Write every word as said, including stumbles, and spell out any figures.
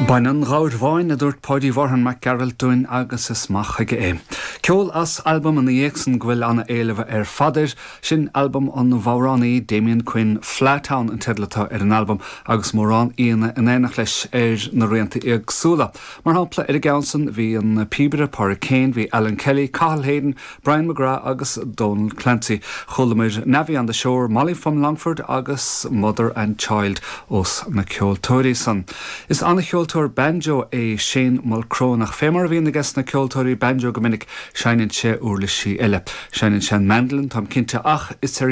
Bain an ghabhair bháin a dúirt Páidí Mhárthain Mac Gearailt dúinn agus is maith chuige é. Ceol as albam ina dhiaidh san go bhfuil an-éileamh ar fad air sin albam an amhránaí Damien Quinn Fleadh Town an teideal atá ar an albam agus mórán aíonna in éineacht leis ar na rianta éagsúla. Mar shampla ar an gceann san bhí an píobaire Pádraig Kane, bhí Alan Kelly, Cathal Hayden, Brian McGrath agus Donal Clancy. Chualamar Navvy on the Shore, Molly from Longford agus Mother and Child ós na ceoltóirí san. Is an-cheoltóir banjo é Shane Mulcrone ach fé mar a bhíonn aige na ceoltóirí banjo go minic seinneann sé uirlisí eile. Seinneann sé mandolin táim cinnte ach is ar